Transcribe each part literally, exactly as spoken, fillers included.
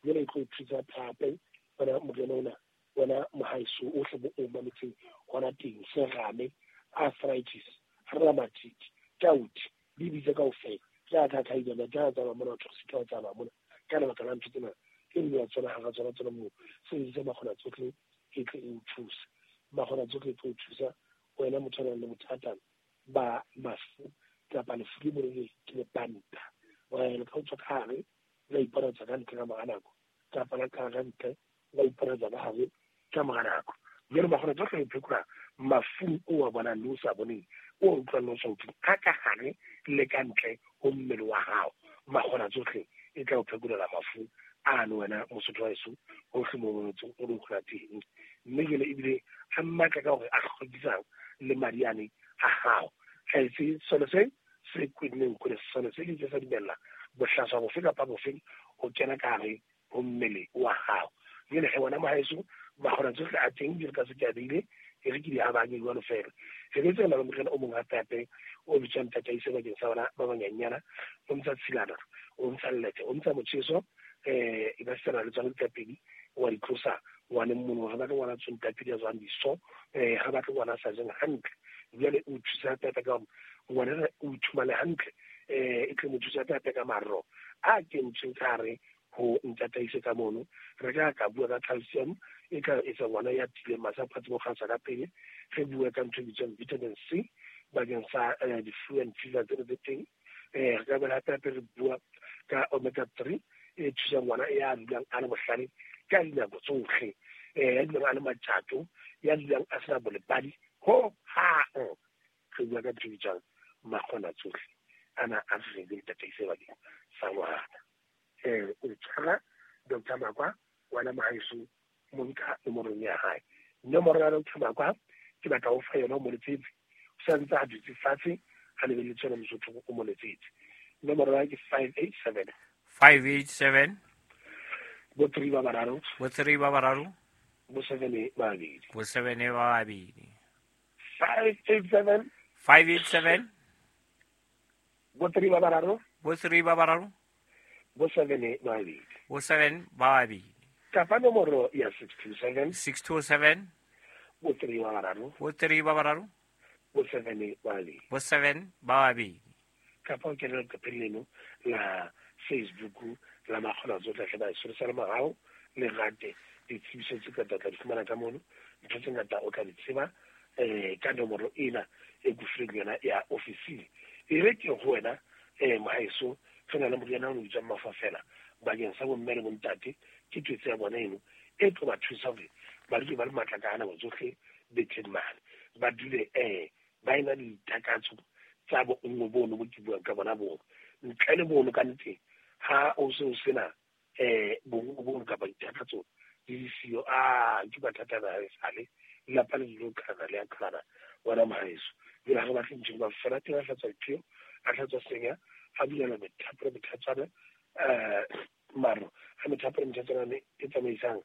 Jwale e tlo o thusa hape wena moriana ona, wena mohaeso ohle bo o mametseng hona teng, serame, arthritis, rheumatic, gout, di bitse kaofela. Tla tla tla ile tla tsamaya mona, o se tla tsamaya mona ka lebaka la ntho tsena e nngwe ya tsona hara tsona tsona moo. Sebedisa Makgona Tsohle e tle e o thuse. Makgona Tsohle e tlo o thusa wena motho a nang le bothata ba mafu kapa lefu le mo ke lepanta. Wena ka o tswa ka hare la iponatsa ka ntle ka mora nako, kapa la ka ntle la iponatsa ka hare ka mora nako. Jwale Makgona Tsohle e phekola mafung o a bonang le o sa boneng, o utlwang le o sa utlweng, a ka hare le ka ntle ho mmele wa hao. Makgona Tsohle e tla o phekolela mafu ano wena Mosotho wa heso hohle mo o o leng hona teng. Mme jwale ebile a matla ka hore a hlwekisang le madi ane a hao. Ha etse sone se se kwenneng kore sone se ke sa dumella bohlaswa bofe kapa bofe ho kena ka hare ho mmele wa hao. Jwale he wena mohaeso, Makgona Tsohle a teng jwalo ka se ke a beile, e re ke di habanye jwalo fela. Re betse na le moriana o mong hape hape o bitswang Tataise bakeng sa bana ba banyenyana, o ntsha tshilana, o ntsha llethe, o ntsha motjheso, eh e ka sena le tsona ditlapedi wa di tlosa ngwaneng mono. Ha batle ngwana tswang ditlapedi a tswang diso, eh ha batle ngwana a sa jeng hantle. Jwale o thusa hape hape ka hore ngwana o ithumane hantle, eh e tle mo thusa hape hape ka marro a kentsweng ka hare ho Ntataise ka mono. Re ka ka bua ka calcium e ka etsa ngwana ya tileng masapo a tsebe ho kgasa ka pele. Re bue ka ntho e bitswang vitamin C bakeng sa di-flu and fever tsena tse teng. Eh re ka boela hape hape re bua ka omega three e thusang ngwana ya dulang a le bohlale ka dinako tsohle, eh ya dulang a le matjato, ya dulang a sena bolebadi ho hang. Re bua ka ntho e bitswang Makgona Tsohle ana a re le Ntataise bakeng sa ngwana. Eh o tshwara Doctor Makwa wena mohaeso, monka nomorong ya hae. Nomoro ya Doctor Makwa ke batla ho fa yona o mo letsetse, o sa ntse a dutse fatshe a lebelletse yona Mosotho o mo letsetse. Nomoro ya ke five eight seven five eight seven bo three ba bararo bo three ba bararo bo seven ba babedi bo seven ba babedi five eight seven five eight seven bo three ba bararo bo three ba bararo bo seven ba babedi bo seven ba babedi. Kapa nomoro ya six two seven six two seven bo three ba bararo bo three ba bararo bo seven ba babedi bo seven ba babedi. Kapa o kene leqepheng leno la Facebook la Makgona Tsohle hle ba e sa le morao le rate ditsebiso tse ngata tla di fumana ka mono. Ntho tse ngata o tla di tseba eh ka nomoro ena e ke fileng yona ya ofising. E re ke ho wena eh mohaeso, re na le moriana o bitswang Mafafela bakeng sa bomme le bontate. Ke twetse ya bona eno e tlo ba thusa hore ba dule ba le matla ka nako tsohle betheng mane, ba dule eh ba ena le ditakatso tsa bonngwe bono bo ke buang ka bona bono. Ntle le bono ka nnete ha o se o sena eh bonngwe bono kapa ditakatso di le siyo, ah ke mathata a sale lelapa le dilo qhalana le a qhalana wena mohaeso. Jwale ha re batle ntho Mafafela teng a hlatswa dipheo, a hlatswa senya, a bulela methapo le methatswana, eh maro a methapo le methatswana e tsamaisang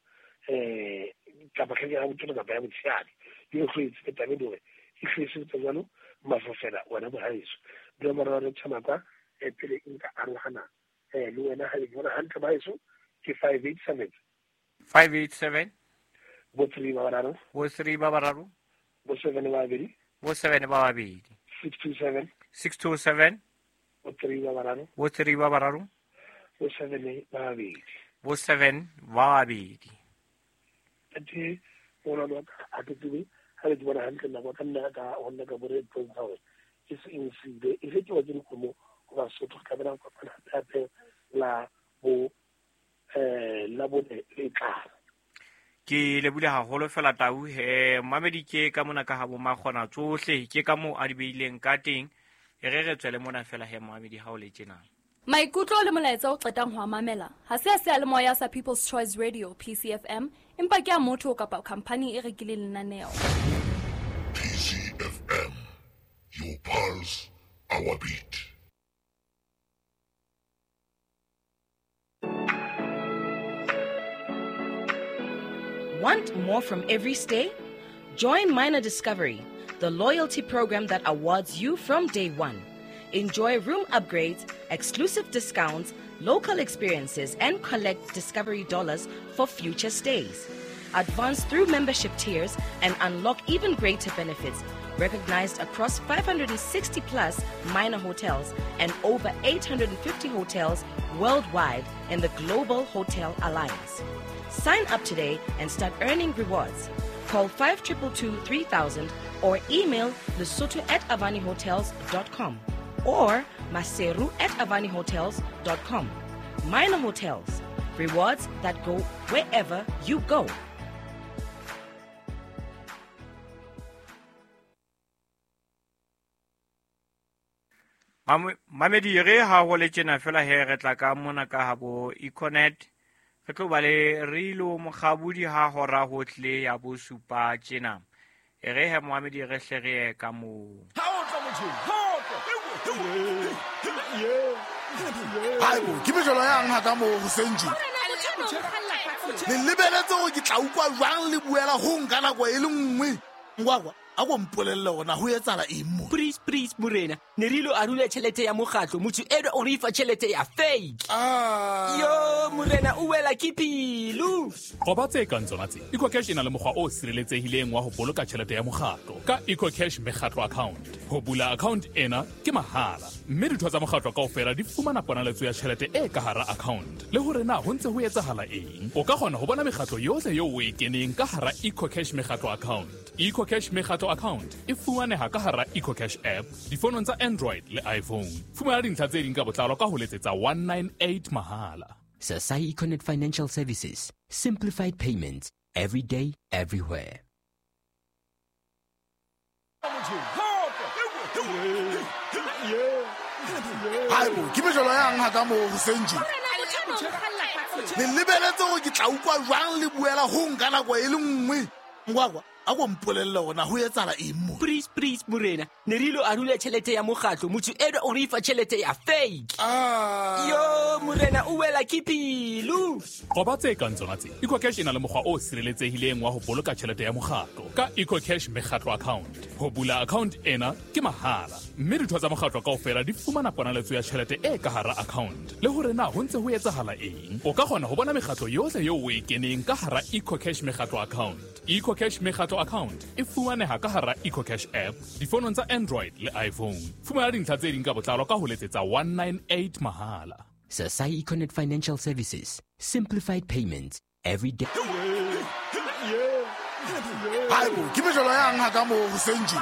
eh kapa tlheke ya botona kapa ya botshehadi. Di e hlwetse taba eno hore e hlwetse jwalo Mafafela wena mohaeso. Nomoro ya Doctor Makwa e pele nka arohana eh le wena ha le bona hantle mohaeso ke five eight seven five eight seven bo three ba bararo bo three ba bararo bo seven ba babedi bo seven ba babedi six two seven six two seven bo three ba bararo bo three ba bararo bo seven ba babedi bo seven ba babedi. Athe ona wa ka a ke tsebe ha le di bona hantle nako ka nna ka honna ka bore bontsha hore ke se eng se ile e ke wa ke dikgomo ho Basotho ka bana kopana hape la bo eh la bone le tlang. Ke lebule haholo fela Tau, eh mamedi ke ka mona ka ha bo Makgona Tsohle ke ka moo a di beileng ka teng. E re re tswele mona fela he mamedi ha o le tjena. Maikutlo le molaetsa o qetang ho a mamela ha se a seyalemoya sa People's Choice Radio P C F M, empa ke a motho kapa khampani e rekileng lenaneo. P C F M, your pulse, our beat. Want more from every stay? Join Minor Discovery, the loyalty program that awards you from day one. Enjoy room upgrades, exclusive discounts, local experiences and collect Discovery Dollars for future stays. Advance through membership tiers and unlock even greater benefits, recognized across five hundred sixty plus minor hotels and over eight hundred fifty hotels worldwide in the Global Hotel Alliance. Sign up today and start earning rewards. Call five two two two three thousand or email lesotho at avani hotels dot com or maseru at avani hotels dot com. Minor Hotels, rewards that go wherever you go. Mamedi re ha ho le tjena fela he re tla ka mona ka ha bo Econet re tlo ba le Rilo Mokgabudi ha hora ho tle ya bo supa tjena e re he Mohamedi re hle re ka mo ha o tla motho ha o tla hai bo ke mejolo yang ha ka mo ho senji le lebeletse hore ke tla utlwa jwang le buela ho nka nako e le nngwe ngwakwa a go mpolelle hore na ho etsahala eng mo. Please please morena ne re ilo arula tjhelete ya mokgatlo motho eno o re fa tjhelete ya fake. Ah. Yo morena o wela ke pelo. Qoba tse kang tsona tse. EcoCash e na le mokgwa o sireletsehileng wa ho boloka tjhelete ya mokgatlo ka EcoCash mekgatlo account. Ho bula account ena ke mahala mme ditho tsa mokgatlo kaofela di fumana ponaletso ya tjhelete e ka hara account le hore na ho ntse ho etsahala eng. O ka kgona ho bona mekgatlo yohle eo o e keneng ka hara EcoCash mekgatlo account. EcoCash mekgatlo account e fumaneha ka hara EcoCash app difonong tsa Android le iPhone. Fumana dintlha tse ding ka botlalo ka ho letsetsa one nine eight mahala. Sasai Econet Financial Services. Simplified payments. Every day, everywhere. Hai bo ke mejolo yang ha ka mo ho senji le lebeletse hore ke tla utlwa jwang le buela ho nka nako e le nngwe ngwakwa a go mpolelle hore na ho etsahala eng mo. Please please morena ne re ilo arula tjhelete ya mokgatlo motho eno o re fa tjhelete ya fake. Ah. Yo morena o wela ke pelo. Qoba tse kang tsona tse. EcoCash e na le mokgwa o sireletsehileng wa ho boloka tjhelete ya mokgatlo ka EcoCash mekgatlo account. Ho bula account ena ke mahala mme ditho tsa mokgatlo kaofela di fumana ponaletso ya tjhelete e ka hara account le hore na ho ntse ho etsahala eng. O ka kgona ho bona mekgatlo yohle eo o e keneng ka hara EcoCash mekgatlo account. EcoCash mekgatlo account e fumaneha ka hara EcoCash app difonong tsa Android le iPhone. Fumana dintlha tse ding ka botlalo ka ho letsetsa one nine eight mahala. Sasai Econet Financial Services. Simplified payments. Every day. Hai bo ke mejolo yang ha ka mo ho senji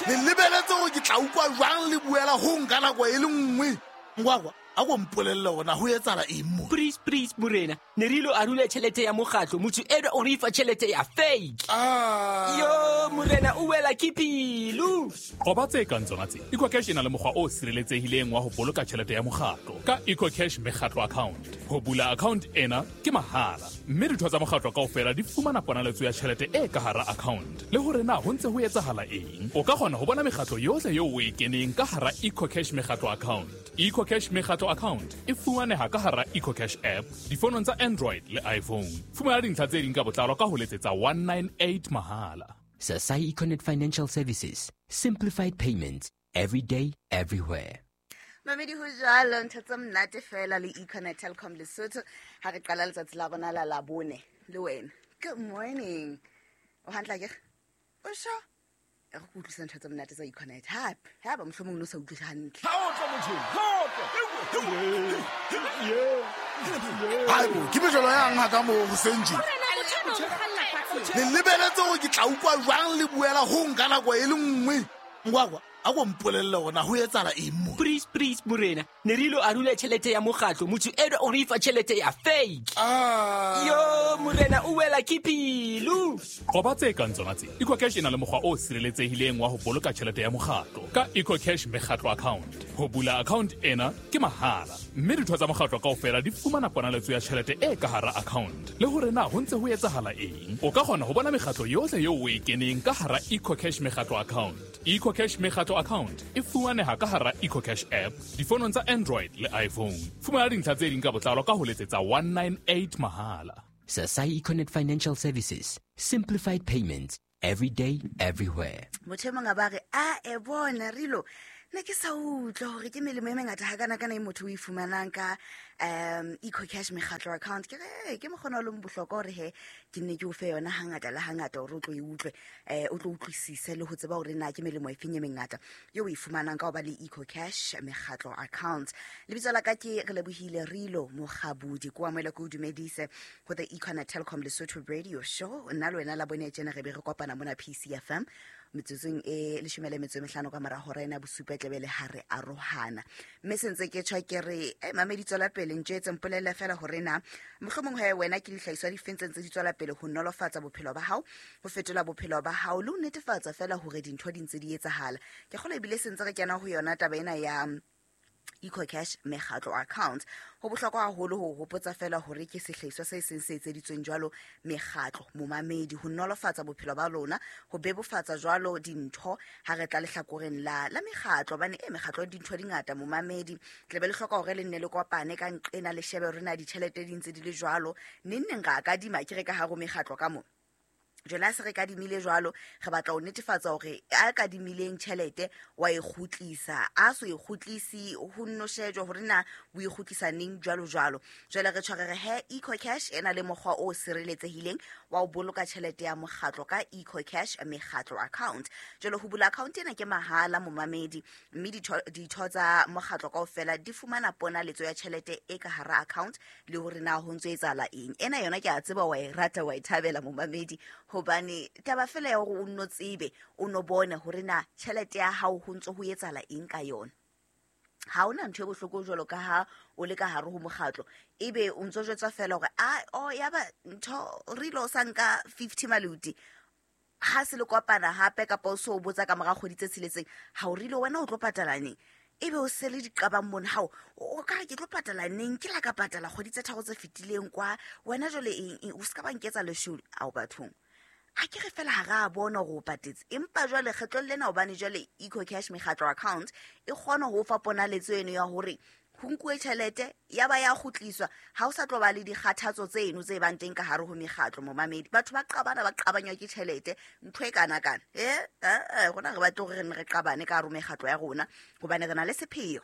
le lebeletse hore ke tla utlwa jwang le buela ho nka nako e le nngwe ngwakwa a go mpolelle hore na ho etsahala eng mo. Please please morena ne re ilo arula tjhelete ya mokgatlo motho eno o re fa tjhelete ya fake. Ah. Yo morena o wela ke pelo. Qoba tse kang tsona tse. EcoCash e na le mokgwa o sireletsehileng wa ho boloka tjhelete ya mokgatlo ka EcoCash mekgatlo account. Ho bula account ena ke mahala mme ditho tsa mokgatlo kaofela di fumana ponaletso ya tjhelete e ka hara account le hore na ho ntse ho etsahala eng. O ka kgona ho bona mekgatlo yohle eo o e keneng ka hara EcoCash mekgatlo account. EcoCash mekgatlo account e fumaneha ka hara EcoCash app difonong tsa Android le iPhone. Fumana dintlha tse ding ka botlalo ka ho letsetsa one nine eight mahala. Sasai Econet Financial Services. Simplified payments. Every day, everywhere. Mamedi ho jwalo ntho tse monate fela le Econet Telkom Lesotho ha re qala letsatsi la rona la Labone le wena. Good morning. O hantle ke? O sho? E re utlwisa ntho tse monate tsa Econet. Hape, ha ba mohlomong no sa utlwisa hantle. Ha o tla motho. Ha o tla. Hai bo ke mejolo yang ha ka mo ho senji le lebeletse hore ke tla utlwa jwang le buela ho nka nako e le nngwe ngwakwa a go mpolelle hore na ho etsahala eng mo. Please please morena ne re ilo arula tjhelete ya mokgatlo motho eno o re fa tjhelete ya fake. Ah. Yo morena o wela ke pelo. Qoba tse kang tsona tse. EcoCash e na le mokgwa o sireletsehileng wa ho boloka tjhelete ya mokgatlo ka EcoCash mekgatlo account. Ho bula account ena ke mahala mme ditho tsa mokgatlo kaofela di fumana ponaletso ya tjhelete e ka hara account le hore na ho ntse ho etsahala eng. O ka kgona ho bona mekgatlo yohle eo o e keneng ka hara EcoCash mekgatlo account. EcoCash mekgatlo account e fumaneha ka hara EcoCash app difonong tsa Android le iPhone. Fumana dintlha tse ding ka botlalo ka ho letsetsa one nine eight mahala. Sasai Econet Financial Services. Simplified payments. Every day, everywhere. Motho e mong a ba re a e bona Rilo Ne ke sa utlwa hore ke melemo e mengata hakana-kana e motho o e fumanang ka um EcoCash mekgatlo account. Ke re ke mokgona o leng bohlokwa hore he ke nne ke o fe yona hangata le hangata hore o tlo e utlwe, eh o tlo utlwisise le ho tseba hore na ke melemo e feng e mengata eo o e fumanang ka ho ba le EcoCash mekgatlo account. Lebitso la ka ke Relebohile Rilo Mokgabudi, ko amohela ke o dumedise ho the Econet Telkom Lesotho Radio Show. Nna le wena la bone tjena re be re kopana mona P C F M metsotsong e leshome le metso e mehlano ka mora hora ena bosupa tlebe le ha re arohana. Mme sentse ke tjho ke re eh mamedi tswela pele ntjetse mpolelle fela hore na mohlomong he wena ke dihlahiswa di feng tse ntse di tswela pele ho nolofatsa bophelo ba hao, ho fetola bophelo ba hao le ho netefatsa fela hore dintho di ntse di etsahala. Ke kgolwa ebile sentse re kena ho yona taba ena ya EcoCash mekgatlo account. Ho bohlokwa haholo ho hopotsa fela hore ke sehlahiswa se seng se etseditsweng jwalo mekgatlo momamedi ho nolofatsa bophelo ba lona, ho bebofatsa jwalo dintho ha re tla lehlakoreng la la mekgatlo, hobane e mekgatlo dintho di ngata momamedi, tlebe le hloka hore le nne le kopane ka nqena le shebe hore na ditjhelete di ntse di le jwalo. Neng neng ra kadima ke re ka hare ho mekgatlo ka mo. Jwale ha se re kadimile jwalo, re batla ho netefatsa hore a kadimileng tjhelete wa e kgutlisa, a so e kgutlisi ho nno shejwa hore na o e kgutlisa neng jwalo jwalo. Jwale re tshware re he EcoCash e na le mokgwa o sireletsehileng wa ho boloka tjhelete ya mokgatlo ka EcoCash mekgatlo account. Jwale ho bula account ena ke mahala momamedi, mme ditho tsa mokgatlo kaofela di fumana ponaletso ya tjhelete e ka hara account le hore na ho ntso etsahala eng. Ena yona ke a tseba wa e rata wa e thabela momamedi, hobane taba fela ya hore o nno tsebe o no bone hore na tjhelete ya hao ho ntso ho etsahala eng ka yona. Ha hona ntho e bohloko jwalo ka ha o le ka hare ho mokgatlo ebe o ntso jwetsa fela hore a o ya ba ntho re lo sa nka fifty maluti ha se le kopana hape kapa o so o botsa ka mora kgwedi tse tsheletseng ha o rile wena o tlo patala neng, ebe o sele diqabang mona hao o ka re ke tlo patala neng, ke la ka patala kgwedi tse tharo tse fetileng kwa wena jwale eng o ska ba nketsa lesholu ao bathong. Ha ke re fela ha ra bona hore o patetse, empa jwale kgetlong lena hobane jwale EcoCash mekgatlo account e kgona ho fa ponaletso eno ya hore ho nkuwe tjhelete ya ba ya kgutliswa, ha o sa tlo ba le dikgathatso tseno tse bang teng ka hare ho mekgatlo momamedi. Batho ba qabana ba qabanywa ke tjhelete ntho e kana kana eh eh rona re batle hore re ne re qabane ka hare ho mekgatlo ya rona hobane re na le sepheo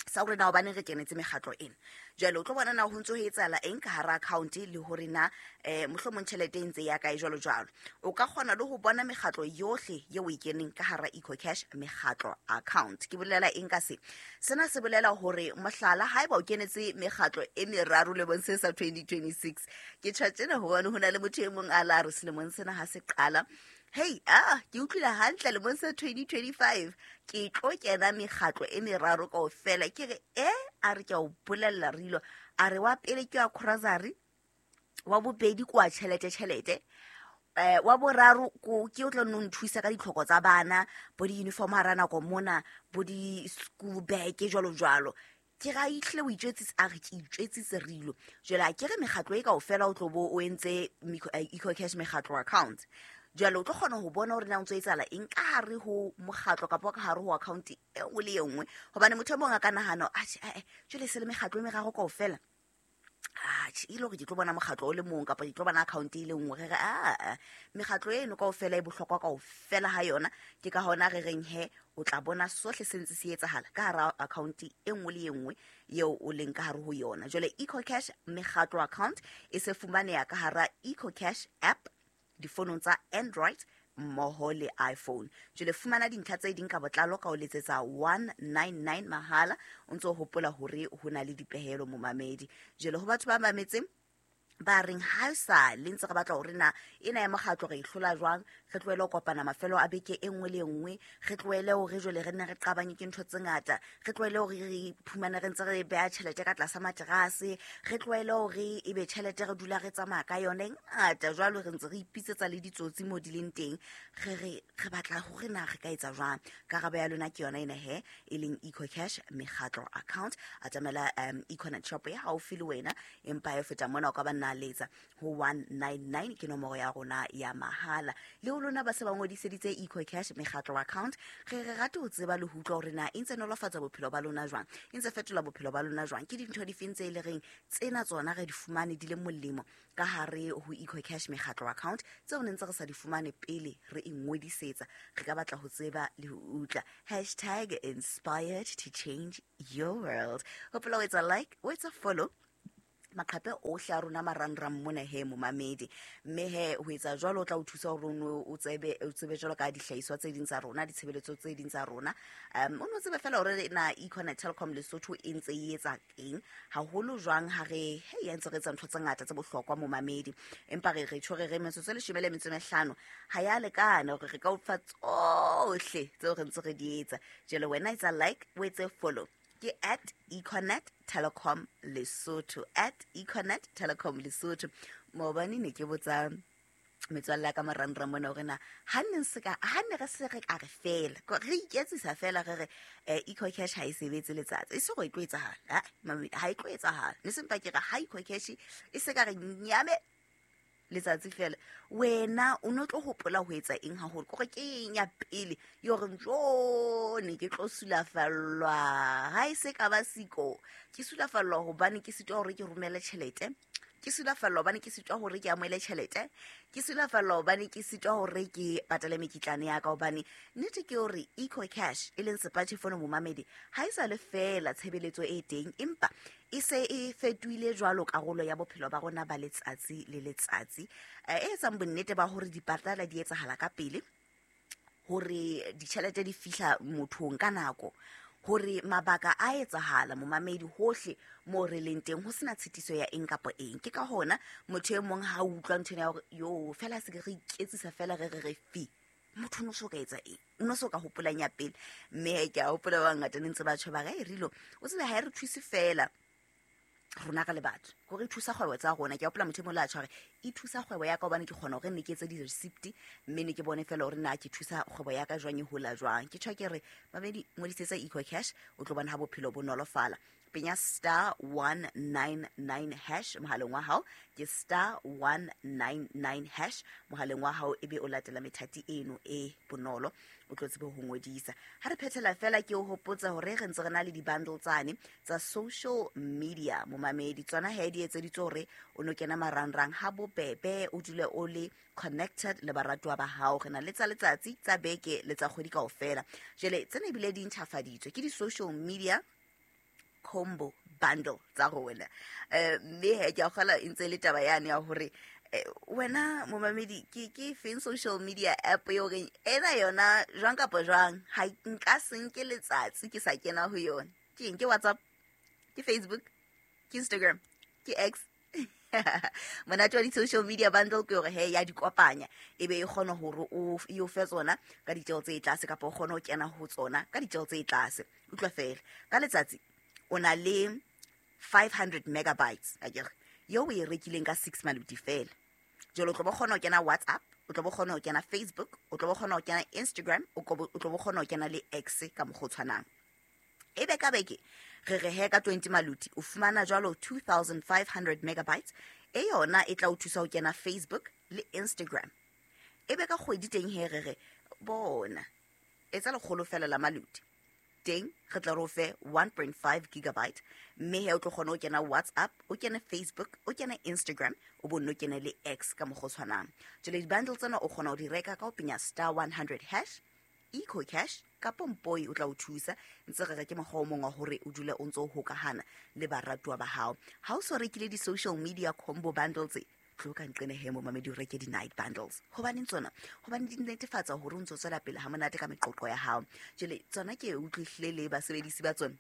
sa hore na hobane re kenetse mekgatlo ena. Jwale o tlo bona na ho ntso ho etsahala eng ka hara account le hore na eh mohlomong tjhelete e ntse ya kae jwalo jwalo. O ka kgona le ho bona mekgatlo yohle eo o e keneng ka hara EcoCash mekgatlo account. Ke bolela eng ka se? Sena se bolela hore mohlala haeba o kenetse mekgatlo e meraro lemong se sa twenty twenty-six, ke tjho tjena hobane ho na le motho e mong a la re selemong sena ha se qala, hey ah ke utlwile hantle lemong sa twenty twenty-five ke tlo kena mekgatlo e meraro kaofela. Ke re eh a re ke a o bolella Rilo, a re wa pele ke wa Grocery, wa bobedi ke wa tjhelete tjhelete, eh wa boraro ko ke o tlo nno nthusa ka ditlhoko tsa bana bo di-uniform hara nako mona bo di-school bag jwalo jwalo. Ke ra itlile o itjwetsitse, a re ke itjwetsitse Rilo. Jwale a ke re mekgatlo e kaofela o tlo bo o entse EcoCash mekgatlo account. Jwale o tlo kgona ho bona hore na o ntso etsahala eng ka hare ho mokgatlo kapa ka hare ho account e nngwe le e nngwe, hobane motho e mong a ka nahana atjhe eh jwale se le mekgatlo e meraro kaofela, atjhe e le hore ke tlo bona mokgatlo o le mong kapa ke tlo bona account e le nngwe. Re re a mekgatlo eno kaofela e bohlokwa kaofela ha yona, ke ka hona re reng he o tla bona sohle se ntse se etsahala ka hara account e nngwe le e nngwe eo o leng ka hare ho yona. Jwale EcoCash mekgatlo account e se fumaneha ka hara EcoCash app difonong tsa Android mmoho le iPhone. Jwale fumana dintlha tse ding ka botlalo ka ho letsetsa one nine nine mahala, o ntso hopola hore ho na le dipehelo momamedi. Jwale ho batho ba mametseng ba reng ha sa le ntse re batla hore na ena ya mokgatlo re e hlola jwang, re tlohele ho kopana mafelo a beke e nngwe le e nngwe, re tlohele hore jwale re nne re qabanye ke ntho tse ngata, re tlohele hore re iphumane re ntse re beha tjhelete ka tlasa materase, re tlohele hore ebe tjhelete re dula re tsamaya ka yona e ngata jwalo, re ntse re ipitsetsa le ditsotsi mo di leng teng, re re re batla hore na re ka etsa jwang. Karabo ya lona ke yona ena he, e leng EcoCash mekgatlo account. Atamela um Econet shop ya haufi le wena, empa e feta mona o ka ba nna letsa ho one nine nine ke nomoro ya rona ya mahala. Le ho lona ba se ba ngodiseditse EcoCash mekgatlo account, re re rate ho tseba le ho utlwa hore na e ntse nolofatsa bophelo ba lona jwang, e ntse fetola bophelo ba lona jwang, ke dintho difeng tse e le reng tsena tsona re di fumane di le molemo ka hare ho EcoCash mekgatlo account tseo ne ntse re sa di fumane pele re e ngodisetsa. Re ka batla ho tseba le ho utlwa. Hashtag inspired to change your world. Hopola o etsa like, o etsa follow maqhape ohle a rona marangrang mona he momamedi, mme he ho etsa jwalo o tla o thusa hore o tsebe o tsebe jwalo ka dihlahiswa tse ding tsa rona, ditshebeletso tse ding tsa rona. Um o no tsebe fela hore na Econet Telkom Lesotho e ntse e etsa eng haholo jwang ha re he ya ntse re etsa ntho tse ngata tse bohlokwa momamedi, empa re re tjho re re metsotso e leshome le metso e mehlano ha ya lekana hore re ka o fa tsohle tseo re ntse re di etsa. Jwale wena etsa like, o etse follow, ke at Econet Telecom Lesotho, at Econet Telecom Lesotho. Maobane ne ke botsa metswalle ya ka marangrang mona hore na ha nne se ka ha ne re se re ka re fela re iketsisa fela re re EcoCash ha e sebetse letsatsi e se go e tlo etsahala, ha e tlo etsahala ne sempa ke re ha EcoCash e se ka re nyame letsatsi fela, wena o no tlo hopola ho etsa eng haholo, kore ke eng ya pele yo re jo ne ke tlo sulafallwa ha e se ka ba siko ke sulafallwa hobane ke sitwa hore ke romele tjhelete, ke sulafallwa hobane ke sitwa hore ke amohele tjhelete, ke sulafallwa hobane ke sitwa hore ke patale mekitlane ya ka. Hobane nnete ke hore EcoCash e leng smartphone momamedi ha e sa le fela tshebeletso e teng, empa e se e fetohile jwalo karolo ya bophelo ba rona ba letsatsi le letsatsi, e etsang bonnete ba hore dipatala di etsahala ka pele, hore ditjhelete di fihla mothong ka nako, hore mabaka a etsahala momamedi hohle mo re leng teng ho sena tshitiso ya eng kapa eng. Ke ka hona motho e mong ha utlwa ntho ya hore yo fela se ke re iketsisa fela re re re fi, motho no so ka etsa eng, o no so ka hopolang ya pele. Mme ke a hopola ba ngata ne ntse ba tjho ba re rilo o tsebe ha e re thuse fela rona ka le batho, gore e thusa kgwebo tsa rona. Ke a hopola motho e mong le a tjho hore e thusa kgwebo ya ka hobane ke kgona hore ne ke etse di-receipt mme ne ke bone fela hore na ke thusa kgwebo ya ka jwang e hola jwang. Ke tjho ke re mamedi ngodisetsa EcoCash o tlo bona ha bophelo bo nolofala. Penya star one nine nine hash mohaleng wa hao, ke star one nine nine hash mohaleng wa hao, ebe o latela methati eno e bonolo o tlo tsebe ho ngodisa. Ha re phethela fela ke o hopotsa hore re ntse re na le di-bundle tsane tsa social media momamedi, tsona he di etseditswe hore o no kena marangrang ha bobebe, o dule o le connected le baratuwa ba hao. Re na le tsa letsatsi, tsa beke le tsa kgwedi kaofela. Jwale tsena ebile di ntjhafaditswe ke di-social media combo bundle tsa rona. Eh mme he ke a kgola e ntse le taba yane ya hore wena momamedi ke ke feng social media app eo reng ena yona jwang kapa jwang ha nka se nke letsatsi ke sa kena ho yona. Ke eng? Ke WhatsApp, ke Facebook, ke Instagram, ke X. Monate wa di-social media bundle ke hore he ya di kopanya ebe e kgona hore o e o fe tsona ka ditjeho tse tlase, kapa o kgone ho kena ho tsona ka ditjeho tse tlase. Utlwa fela ka letsatsi o na le five hundred megabytes akere yo o e rekileng ka six maluti fela. Jwale o tlo bo kgona ho kena WhatsApp, o tlo bo kgona ho kena Facebook, o tlo bo kgona ho kena Instagram, o tlo bo kgona ho kena le X ka mokgwa o tshwanang. Ebe ka beke re re he ka twenty maluti o fumana jwalo two thousand five hundred megabytes, e yona e tla o thusa ho kena Facebook le Instagram. Ebe ka kgwedi teng he re re bona etsa lekgolo fela la maluti teng re tla re o fe one point five gigabyte, mme he o tlo kgona ho kena WhatsApp, o kene Facebook, o kene Instagram, o bo nno kene le X ka mokgwa o tshwanang. Jwale di-bundle tsena o kgona ho di reka ka ho penya star one hundred hash EcoCash kapa Mpoi o tla o thusa. Ntse re re ke mokgwa o mong wa hore o dule o ntse o hokahana le baratuwa ba hao. Ha o so rekile di-social media combo bundles tse, tlo ka nqene he momamedi o reke di-night bundles. Hobaneng tsona? Hobane di netefatsa hore o ntso tswela pele ha monate ka meqoqo ya hao. Jwale tsona ke utlwihlile le basebedisi ba tsona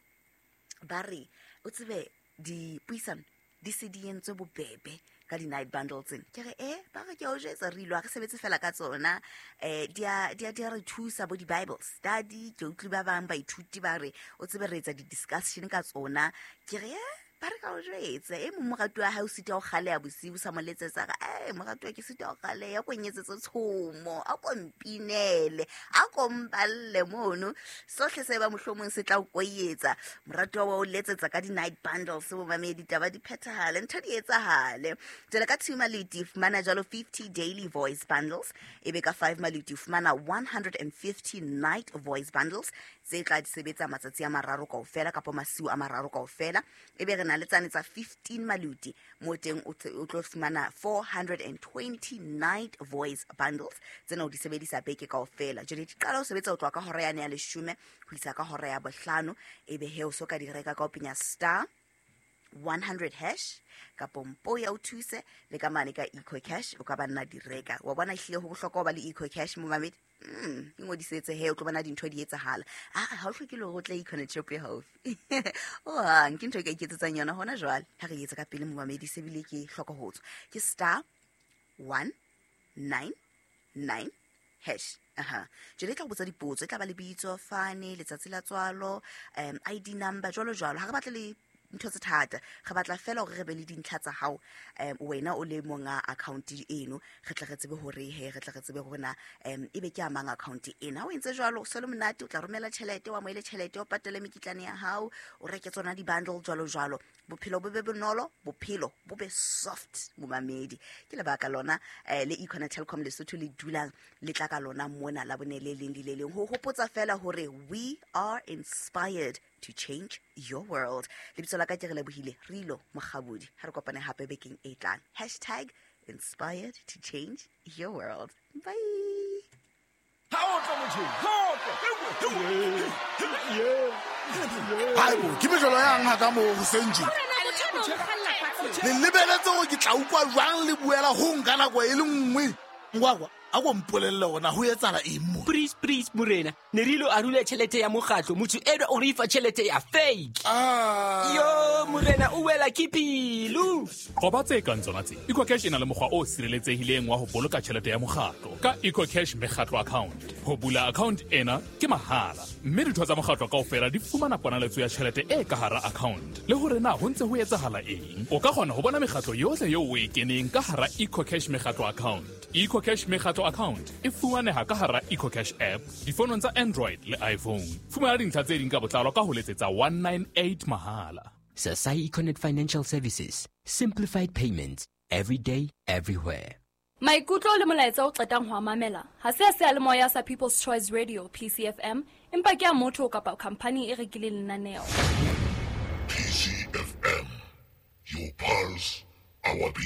ba re o tsebe dipuisano di se di entswe bobebe ka di-night bundles tsena. Ke re eh ba re ke a o jwetsa re ilo ha re sebetse fela ka tsona, eh di a di a di a re thusa bo di-Bible study. Ke utlwi ba bang baithuti ba re o tsebe re etsa di-discussion ka tsona. Ke re eh Ba re ka o jwetse e mong moratuwa wa hae o sita ho kgaleha bosiu sa mo letsetsa re e moratuwa ke sita ho kgaleha ko nyetsetse tshomo a ko mpinele a ko mpalle mono sohle se ba mohlomong se tla o koyetsa moratuwa wa o letsetsa ka di night bundles bo mamedi taba di phethahale ntho di etsahale. Jwale ka two maluti fumana jwalo fifty daily voice bundles, ebe ka five maluti fumana one hundred fifty night voice bundles tse tla di sebetsa matsatsi a mararo kaofela kapa masiu a mararo kaofela. Ebe re na le tsane tsa fifteen maluti mo teng o tlo fumana four hundred twenty night voice bundles tsena o di sebedisa beke kaofela. Jwale di qala ho sebetsa ho tloha ka hora yane ya leshome ho isa ka hora ya bohlano, ebe he o so ka di reka ka ho penya star one hundred hash kapo mpo ya o thuse le ka mane ka EcoCash o ka ba nna di reka. Wa bona ehlile ho bohlokwa ho ba le EcoCash mo mamedi. Mm, ingodisetse he o tlo bona dintho di etsahala. Ah, ha o hloke le hore o tle Econet shop e haufi. O hang ke ntho e ka iketsetsang yona hona jwale. Ha re etsa ka pele mo mamedi se bile ke hloka ho tswa. Ke star one nine nine hash. Aha. Jwale e tla go botsa dipotso, e tla ba lebitso, fane, letsatsi la tswalo, um I D number jwalo jwalo. Ha re batle le ntho tse thata, re batla fela hore re be le dintlha tsa hao um wena o le monga account eno, re tle re tsebe hore he re tle re tsebe hore na um ebe ke amang account ena. Ha o entse jwalo o se le monate, o tla romela tjhelete, wa moele tjhelete, o patale mekitlane ya hao, o reke tsona di-bundle jwalo jwalo. Bophelo bo be bonolo, bophelo bo be soft momamedi. Ke lebaka lona eh, le Econet Telkom Lesotho le dulang le tla ka lona mona la bone le leng le le leng ho hopotsa fela hore we are inspired to change your world. Lebitso la ka ke re lebohile Rilo Mokgabudi. Ha re kopane hape bekeng e tlang. Hashtag inspired to change your world. Bye. Haebo, ke mejolo yang ha ka moo hoseng tje. Le lebeletse hore ke tla utlwa jwang le buela ho nka nako e le nngwe. Ngwakwa, a ko mpolelle hore na ho etsahala eng mo. Please, please, morena. Ne re ilo arula tjhelete ya mokgatlo, motho enwa o re fa tjhelete ya fake. Ah. Yo, morena o wela ke pelo. Qoba tse kang tsona tse. EcoCash e na le mokgwa o sireletsehileng wa ho boloka tjhelete ya mokgatlo ka EcoCash mekgatlo account. Ho bula account ena ke mahala, mme ditho tsa mokgatlo kaofela di fumana ponaletso ya tjhelete e ka hara account. Le hore na ho ntse ho etsahala eng. O ka kgona ho bona mekgatlo yohle eo o e keneng ka hara EcoCash mekgatlo account. EcoCash mekgatlo account e fumaneha ka hara EcoCash app difonong tsa Android le iPhone. Fumana dintlha tse ding ka botlalo ka ho letsetsa one nine eight mahala. Sasai Econet Financial Services. Simplified payments. Every day, everywhere. Maikutlo le molaetsa o qetang ho a mamela ha se a seyalemoya sa People's Choice Radio P C F M, empa ke a motho kapa khampani e rekileng lenaneo. P C F M, your pulse, our beat.